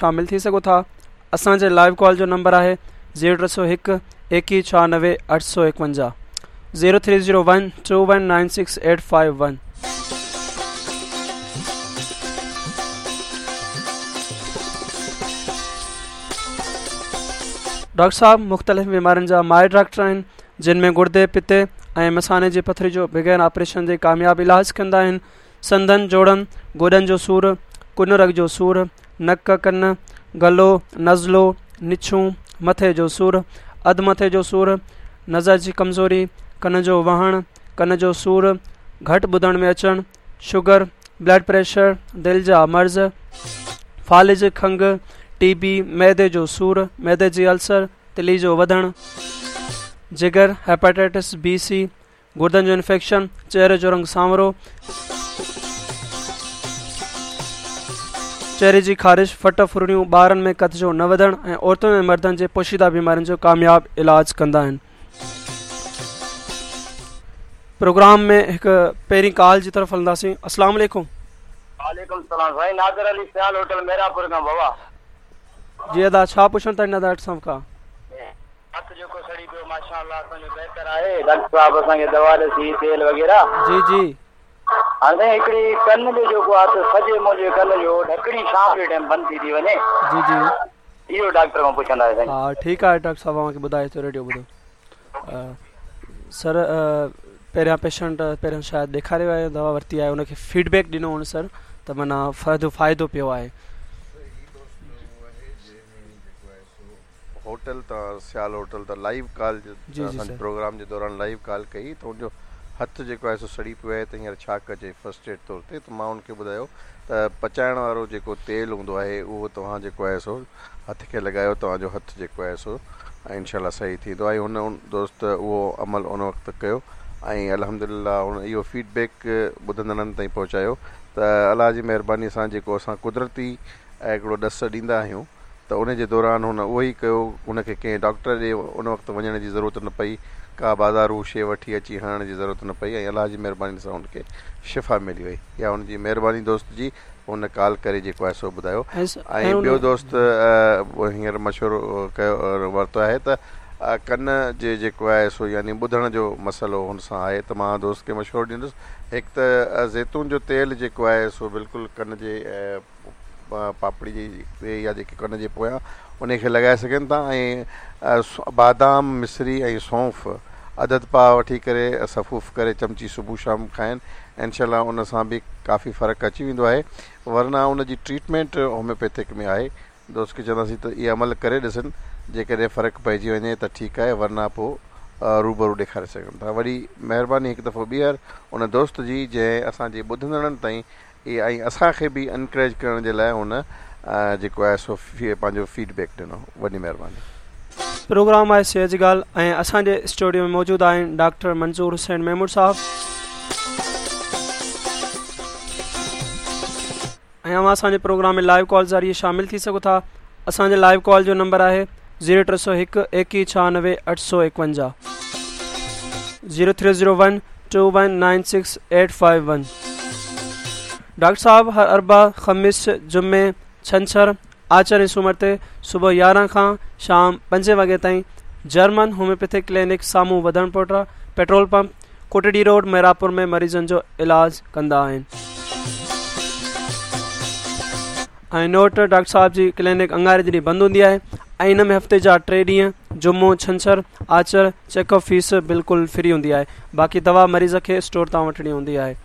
شامل ٿي سگهو ٿا. اسان جي لائيو ڪال جو نمبر آهي زيرو ٽي سو هڪ ايڪيهه ڇهانوي اٺ سو ايڪونجاهه zero three zero one two one nine six eight five one. Doctor صاحب مختلف بيمارين جا ماهر ڊاڪٽر آهن جن ۾ گردي پتي ۽ مثاني جي پٿري جو بغير آپريشن جي ڪامياب علاج ڪندا آهن سنڌن جوڙن گوڏن جو سور ڪن رڳ جو سور نڪ ڪن گلو نزلو نڇون مٿي جو سور اڌ مٿي جو سور نظر جي ڪمزوري ڪن جو وهڻ ڪن جو سور گهٽ ٻڌڻ ۾ اچڻ شگر بلڊ پريشر دل جا مرض فالج کنگهه ٽي بي معدي جو سور معدي جي السر تلي جو وڌڻ جگر هيپاٽائٽس بي سي گردن جو انفيڪشن، چهري جو رنگ سانورو، چهري جي خارش، ڦٽ ڦرڙيون، ٻارن ۾ قد جو نه وڌڻ ۽ عورتن ۽ مردن جي پوشيده بيمارين جو ڪامياب علاج ڪندا آهن. پروگرام ۾ هڪ پهرين ڪال جي طرف هلنداسين. السلام عليڪم. وعليڪم السلام سائين نادر علي سيال هوٽل ميرانپور کان بابا. جي ادا ڇا پڇڻ ٿا چاهيو ڊاڪٽر صاحب کان. هٿ جيڪو سڙي پيو ماشاء الله اسان جو بهتر آهي ڊاڪٽر صاحب اسان کي دوا ڏسي تيل وغيره. جي جي. هاڻي سائين هڪڙي ڪن جو جيڪو آهي ته سڄي منهنجي ڪن جو ڍڪڻي شام جي ٽائيم بند ٿي ٿي وڃي. جي جي. اهو ڊاڪٽر کان پڇندا آهيو سائين. ها ٺيڪ آهي ڊاڪٽر صاحب اوهان کي ٻڌائي ٿو ريڊيو ٻڌو سر پهريان پيشنٽ پهريان شايد ڏيکاريو آهي دوا ورتي آهي ان کي فيڊ بيڪ ڏنو هن سر ته معنيٰ فائدو فائدو پيو آهي. هوٽل تان سيال هوٽل تان لائيو ڪال جي جي اسان سر. پروگرام جي دوران لائيو ڪال ڪئي ته ان جو هٿ جيڪو آهي سو سڙي پيو آهي ته هينئر ڇا ڪجي فرسٽ ايڊ طور تي ته مان ان کي ٻڌايو ته پچائڻ وارو جيڪو تيل هوندو آهي اهو توهان جيڪو آهي سو هٿ کي لڳايو توهان جو هٿ جيڪو آهي سو انشاء الله صحيح ٿيندو ۽ هن دوست اهو عمل ان وقت ڪيو ۽ الحمدلله هن اهو فيڊ بيڪ ٻڌندڙن تائين پهچايو ته الله جي مهرباني سان جيڪو اسان قدرتي هڪڙو ڏس ڏيندا آهيون ته ان جي دوران هن اهو ئي ڪيو، هن کي ڪنهن ڊاڪٽر ڏي ان وقت وڃڻ جي ضرورت نه پئي، ڪا بازارو شيء وٺي اچي هڻڻ جي ضرورت نه پئي ۽ الله جي مهرباني سان هن کي شفا ملي وئي. اها هن جي مهرباني دوست جي هن ڪال ڪري جيڪو آهي سو ٻڌايو ۽ ٻيو دوست هينئر مشورو ڪيو ورتو آهي ته ڪن جي جيڪو آهي سو يعني ٻڌڻ جو مسئلو هن سان آهي ته مان دوست کي مشورو ڏيندس هڪ ته زيتون جو تيل جيڪو آهي سو بلڪل ڪن جي پاپڙي جي يا جيڪي ڪن جي پويان انهي کي لڳائي سگهن ٿا ۽ بادام مصري ۽ سونف اڌ اڌ پاء وٺي ڪري سفوف ڪري چمچي صبح شام کائن انشاء الله ان سان به ڪافي فرق اچي ويندو آهي ورنه ان جي ٽريٽمينٽ هوميوپيٿڪ ۾ آهي دوست کي چونداسين ته اهي عمل ڪري ڏسن جيڪڏهن فرق پئجي وڃي ته ٺيڪ آهي ورنه پوء روبرو ڏيکاري سگهن ٿا وڏي مهرباني هڪ دفعو ٻيهر ان دوست جي جنهن اسان جي ٻڌندڙن تائين اي ۽ اسان کي به انڪريج ڪرڻ جي لاء هن جيڪو آهي سو پنهنجو فيڊ بيڪ ڏنو وڏي مهرباني. پروگرام آهي صحت جي ڳالهه ۽ اسان جي اسٽوڊيو ۾ موجود آهن ڊاڪٽر منظور حسين ميمڻ صاحب ۽ اوهان اسان جي پروگرام ۾ لائيو ڪال ذريعي شامل ٿي سگهو ٿا اسان جي لائيو ڪال جو نمبر آهي زيرو ٽي سو هڪ ايڪيهه ڇهانوي اٺ سو ايڪونجاهه zero three zero one two one nine six eight five one doctor صاحب هر اربع خميس جمعي ڇنڇر آچر ۽ سومر تي صبح يارهن کان شام پنجين وڳي تائين جرمن هوميوپيٿڪ ڪلينڪ سامهون وڌڻ پوٽا petrol pump Kotri road Miranpur ۾ مريضن جو علاج ڪندا آهن ۽ نوٽ ڊاڪٽر صاحب جي ڪلينڪ اڱاري جي ڏينهن بند هوندي آهي ۽ ان ۾ هفتي جا ٽي ڏينهن جمعو ڇنڇر آچر چيڪ اپ فيس بلڪل فري هوندي آهي باقي دوا مريض کي اسٽور تان وٺڻي هوندي آهي.